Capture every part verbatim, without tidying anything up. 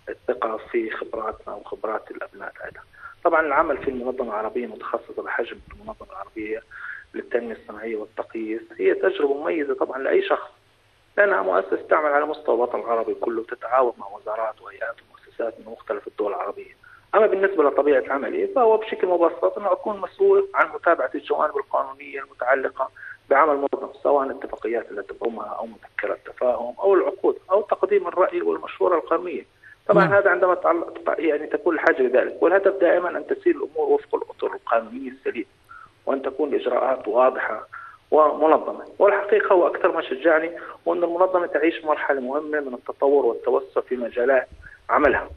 الثقة في خبراتنا وخبرات الأبناء هذا. طبعا العمل في المنظمة العربية متخصصة بحجم المنظمة العربية للتنمية الصناعية والتقييس هي تجربة مميزة طبعا لأي شخص، لأنها مؤسسة تعمل على مستوى الوطن العربي كله، تتعاون مع وزارات وهيئات ومؤسسات من مختلف الدول العربية. أما بالنسبة لطبيعة عملي فهو بشكل مبسط أنه أكون مسؤول عن متابعة الجوانب القانونية المتعلقة بعمل المنظمة، سواء الاتفاقيات التي تضمها أو مذكرات التفاهم أو العقود أو تقديم الرأي والمشورة القانونية. طبعا م. هذا عندما يعني تكون الحاجة لذلك، والهدف دائما أن تسير الأمور وفق الأطر القانونية السليمة وأن تكون الإجراءات واضحة ومنظمة. والحقيقة هو أكثر ما شجعني وأن المنظمة تعيش مرحلة مهمة من التطور والتوسع في مجالات عملها،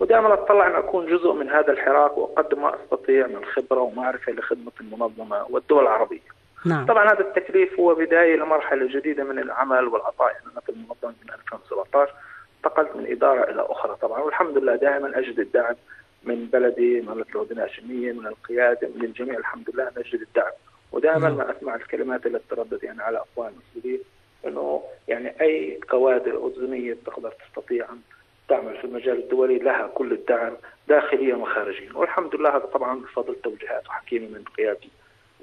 ودائما أتطلع أن أكون جزء من هذا الحراك وأقدم ما أستطيع من خبرة ومعرفة لخدمة المنظمة والدول العربية. نعم. طبعا هذا التكليف هو بداية لمرحلة جديدة من العمل والعطاء. أنا في المنظمة من ألفين وسبعة عشر انتقلت من إدارة إلى أخرى طبعا، والحمد لله دائما أجد الدعم من بلدي، من الأردن الهاشمية، من القيادة، من الجميع. الحمد لله نجد الدعم، ودائما ما أسمع الكلمات التي تردد يعني على أفواه المسؤولين أنه يعني أي كوادر أردنية تقدر تستطيع أن تعمل في المجال الدولي لها كل الدعم داخليا وخارجيا. والحمد لله هذا طبعا بفضل توجيهات وحكيمة من قيادة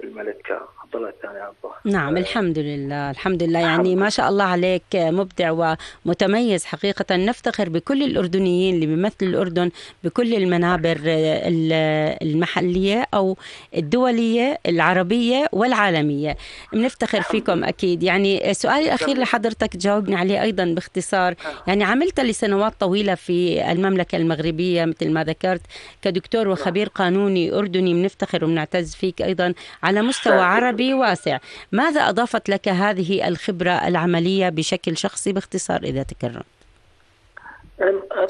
الملك عبد الله الثاني عبد الله. نعم الحمد لله الحمد لله يعني ما شاء الله عليك مبدع ومتميز حقيقة. نفتخر بكل الأردنيين اللي بيمثلوا الأردن بكل المنابر المحلية أو الدولية العربية والعالمية، بنفتخر فيكم أكيد. يعني سؤالي الأخير لحضرتك جاوبني عليه أيضا باختصار. يعني عملت لسنوات طويلة في المملكة المغربية مثل ما ذكرت كدكتور وخبير قانوني أردني، بنفتخر وبنعتز فيك أيضا على مستوى عربي واسع. ماذا أضافت لك هذه الخبرة العملية بشكل شخصي باختصار إذا تكرم؟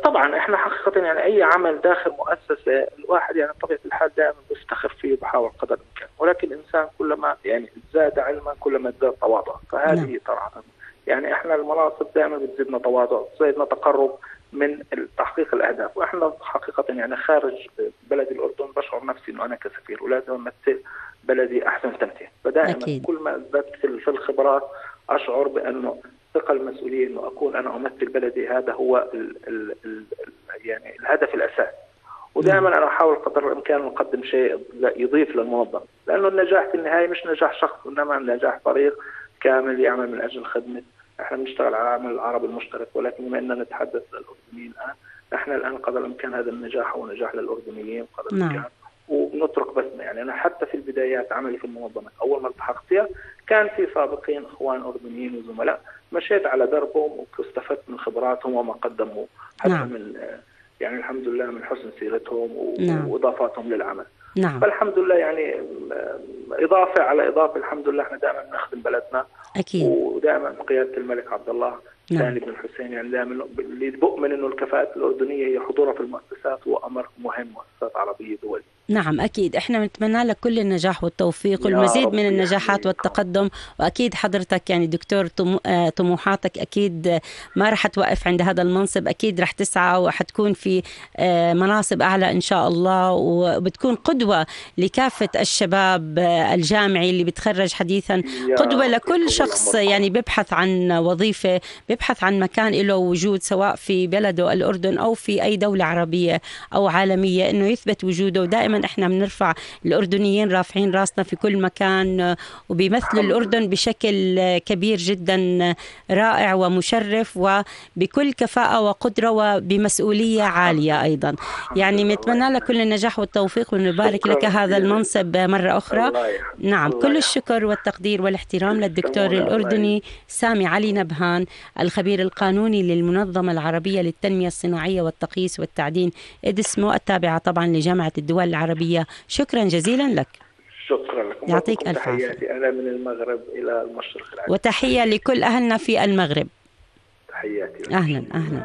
طبعا احنا حقيقة يعني أي عمل داخل مؤسسة الواحد يعني طبيعة الحال دائما بيفتخر فيه وبحاول قدر الإمكان، ولكن الإنسان كلما يعني زاد علما كلما ازداد تواضع، فهذه نعم. صراحة يعني احنا المناصب دائما بتزيدنا تواضع، بتزيدنا تقرب من تحقيق الأهداف. وإحنا حقيقة يعني خارج بلد الأردن بشعر نفسي إنه أنا كسفير ولازم أمثل بلدي أحسن تمثيل. فدائما أكيد. كل ما ازددت في الخبرات أشعر بأنه ثقة المسؤولية إنه أكون أنا أمثل بلدي، هذا هو ال ال ال يعني الهدف الأساسي. ودائما أنا أحاول قدر الإمكان نقدم شيء يضيف للمنظمة، لأنه النجاح في النهاية مش نجاح شخص إنما نجاح فريق كامل يعمل من أجل خدمة. احنا بنشتغل على عمل العربي المشترك، ولكن بما اننا نتحدث للأردنيين الآن، نحن الآن قدر الإمكان هذا النجاح هو نجاح للأردنيين قدر الإمكان. نعم. وبنترك بسمة. يعني أنا حتى في البدايات عملي في المنظمة أول ما التحقت فيها كان في سابقين إخوان أردنيين وزملاء مشيت على دربهم واستفدت من خبراتهم وما قدموا حتى نعم. من يعني الحمد لله من حسن سيرتهم نعم. وإضافاتهم للعمل. نعم. فالحمد لله يعني إضافة على إضافة الحمد لله احنا دائما نخدم بلدنا أكيد. ودائما قيادة الملك عبد الله الثاني بن الحسين يعني دائما اللي بؤمن إنه الكفاءات الأردنية هي حضورها في المؤسسات هو أمر مهم، مؤسسات عربية دولية. نعم أكيد احنا نتمنى لك كل النجاح والتوفيق والمزيد من النجاحات والتقدم. وأكيد حضرتك يعني دكتور طموحاتك أكيد ما رح توقف عند هذا المنصب، أكيد رح تسعى وحتكون في مناصب أعلى إن شاء الله، وبتكون قدوة لكافة الشباب الجامعي اللي بتخرج حديثا، قدوة لكل شخص يعني بيبحث عن وظيفة، بيبحث عن مكان له وجود سواء في بلده الأردن أو في أي دولة عربية أو عالمية، إنه يثبت وجوده. ودائما احنا بنرفع الأردنيين رافعين راسنا في كل مكان وبيمثلوا الأردن بشكل كبير جدا رائع ومشرف وبكل كفاءة وقدرة وبمسؤولية عالية أيضا. يعني نتمنى لك كل النجاح والتوفيق ونبارك لك هذا المنصب مرة أخرى. نعم كل الشكر والتقدير والاحترام للدكتور الأردني سامي علي نبهان الخبير القانوني للمنظمة العربية للتنمية الصناعية والتقييس والتعدين إدسمو التابعة طبعا لجامعة الدول العربية. شكرا جزيلا لك. شكرا لكم. يعطيك ألف عافية. أنا من المغرب إلى المشرق العربي. وتحية لكل أهلنا في المغرب. تحياتي. أهلا أهلا.